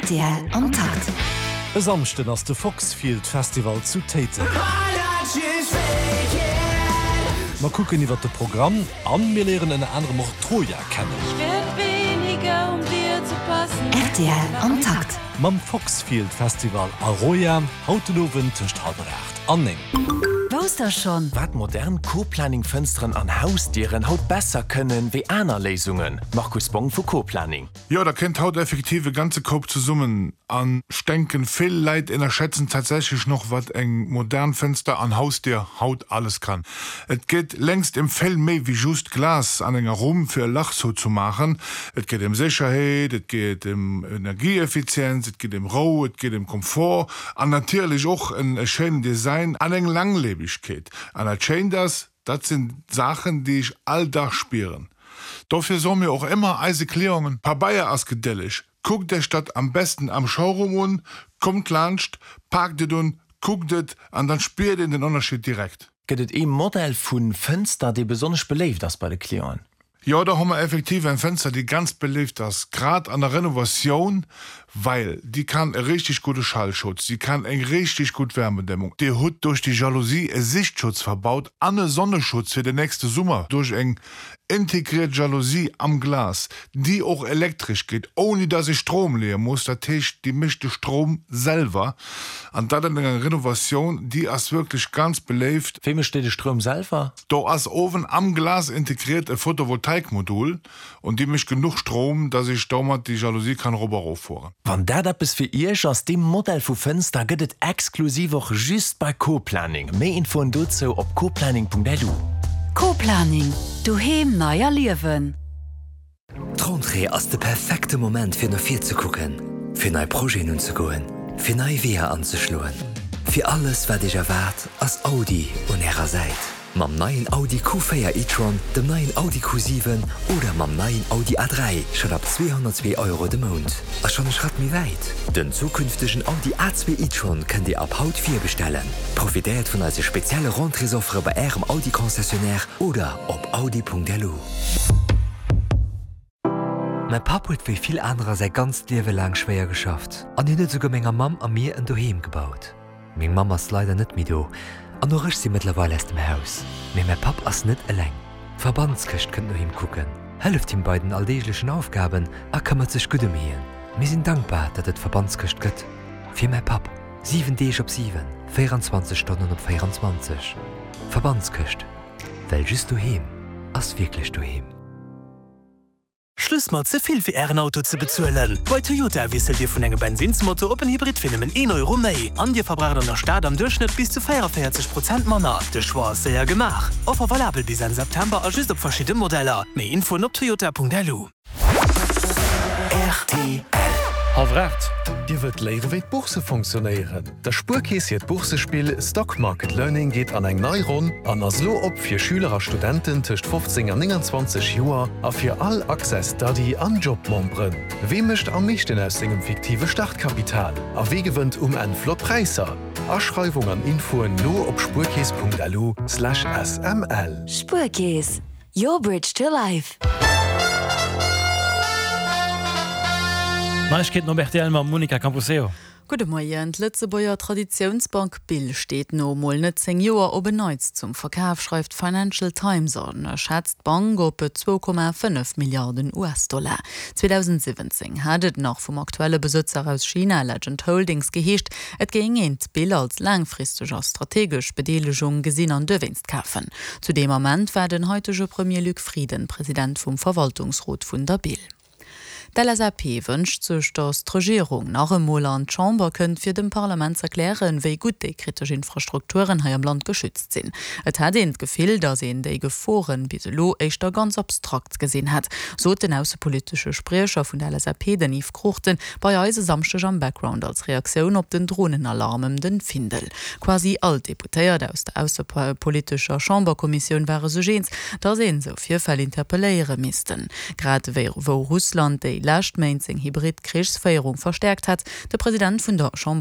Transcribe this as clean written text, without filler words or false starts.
Rtl am Takt. E Samschden ass de Foxfield Festival zu Téiteng. Mer kucken iwwert de Programm an mir léieren ënner anerem och Troja kennen. Rtl am Takt. Mam Foxfield Festival a Roja, haut den Owend tëscht hallwer 8 an 9. Wousst der schonn? Wat modern Co-Planning-Fënsteren an Hausdieren haut besser kënnen wéi aner Léisungen, Markus Bong vu Co-Planning. Jo, da kennt haut effektiv e ganze Koup zesummen. An ech denken, vill Läit ennerschätzen tatsächlech noch, wat eng modern Fenster an Hausdier haut alles kann. Et geet längst em vill méi wéi just Glas an enger Rumm fir e Lach zouzemaachen. Et geet em Sécherheet, et geet em Energieeffizienz, et geet em Rou, et geet em Komfort an natierlech och en e schéinen Design an eng Langlebegkeet. An dat Schéint ass, Dat sinn Saachen, déi ech all Dag spieren. Dofir soe mir och ëmmer eise Clienten, Pabeier ass gedëlleg, kuckt Iech dat am besten am Showroom un, kommt laanscht, paakt et un, kuckt et an dann spiert een den Ënnerscheed direkt. Gëtt et ee Modell vu Fënster, dee besonnesch beléift ass bei de Clienten? Jo, do hu mer effektiv eng Fënster, déi ganz beléift ass, grad an der Renovatioun, well déi kann e richtig gudde Schallschutz, déi kann eng richtig gutt Wärmedämmung. Dir hutt duerch déi Jalousie e Sichtschutz verbaut an e Sonneschutz fir den nächste Summer duerch eng integriert Jalousie am Glas, déi och elektresch geet, ouni dass ee Strom leeë muss. Dat heescht, déi mécht de Strom selwer an dat an enger Renovatioun, déi ass wierklech ganz beléift. Wéi mécht déi de Stroum selwer? Do ass owen am Glas integriert e Photovoltaikmodul und déi mécht genuch Strom, dass ech domat déi Jalousie kann erop a rof fueren. Wann dat eppes fir Iech ass, dee Modell vu Fënster gëtt et exklusiv och just bei Coplaning. Méi Infoen dozou op coplaning.lu. Coplaning, Doheem nei erliewen. D'Rentrée ass de perfekte Moment fir no vir ze kucken, fir nei Projeten unzegoen, fir nei Weeër anzeschloen. Fir alles wat Iech erwaart, ass Audi un Ärer Säit. Mam neien Audi Q4 e-tron, dem neien Audi Q7 oder mam neien Audi A3 schonn ab 202 Euro de Mount. A schonn e Schratt méi wäit, Den zukünftegen Audi A2 e-tron kënnt Dir ab haut virbestellen. Profitéiert vun eise spezielle Rentréesoffere bei Ärem Audi-Concessionnaire oder op audi.lu. Mäi Papp huet wéi vill anerer säi ganzt Liewe laang schwéier geschafft an hien huet esouguer menger Mamm a mir en Doheem gebaut. Meng Mamm ass leider net méi do an och ech si mëttlerweil aus dem Haus. Mee mäi Papp ass net eleng. D'Verbandskëscht kënnt no him kucken, hëlleft him bei den alldeeglechen Aufgaben a këmmert sech gutt ëm hien. Mir sinn dankbar, datt et d'Verbandskëscht gëtt. Fir mäi Papp, 7 Deeg op 7, 24 Stonnen op 24. Verbandskëscht, well just doheem ass wierklech doheem. Schluss mat ze vill fir ären Auto ze bezuelen! Bei Toyota wiesselt Dir vun engem Bensinnsmotor op en Hybrid fir nëmmen een Euro méi. An Dir verbraucht an der Stad am Duerchschnëtt bis zu 44 Prozent manner. De Choix ass séier gemaach. Offer valabel bis Enn September a just op verschidde Modeller. Méi Infoen op toyota.lu. Rtl. Hallwer 8. Dir wëllt léiere wéi d'Bourse fonctionnéieren? Der Spuerkeess hiert Boursespill Stock Market Learning geet an eng nei Ronn an ass elo op fir Schüler a Studenten tëscht 15 an 29 Joer a fir all Access Study an Job-Memberen. Wee mécht am meeschten aus sengem fiktive Startkapital a wee gewënnt um Enn flott Präisser? Aschreiwung an Infoen lo op spuerkeess.lu/sml. Spuerkeess, your bridge to life. Neiegkeeten op rtl mam Monica Camposeo. Gudde Moien. D'Lëtzebuerger Traditiounsbank Bill steet no mol net 10 Joer op en Neits zum Verkaf, schreift d'Financial Times a schätzt d'Bank op 2,5 Milliarden US-Dollar. 2017 hat et nach vum aktuelle Besëtzer aus China, Legend Holdings, geheescht, et géing een d'Bill als laangfristeg a strategesch Bedeelegung gesinn an duerwéinst kafen. Zu deem Ament war den haitege Premier Luc Frieden President vum Verwaltungsrot vun der Bill. D'LSAP wënscht sech, datt d'Regierung nach emol an d'Chamber kënnt, fir dem Parlament z'erklären, wéi gutt déi kritesch Infrastrukturen hei am Land geschützt sinn. Et hätt een d'Gefill, datt een déi Geforen bis elo éischter ganz abstrakt gesinn hätt, sot den aussepolitesche Spriecher vun der LSAP, den Yves Cruchten, bei eis e Samschdeg am Background als Reaktioun op den Dronenalarm ëm den Findel. Quasi all d'Deputéiert aus der aussepolitescher Chamberkommissioun ware sech eens, datt een esou Virfäll interpelléiere missten. Grad ewéi wou Russland déi lescht Méint seng hybrid Krichsféierung verstäerkt hätt. De President vun der Chamber.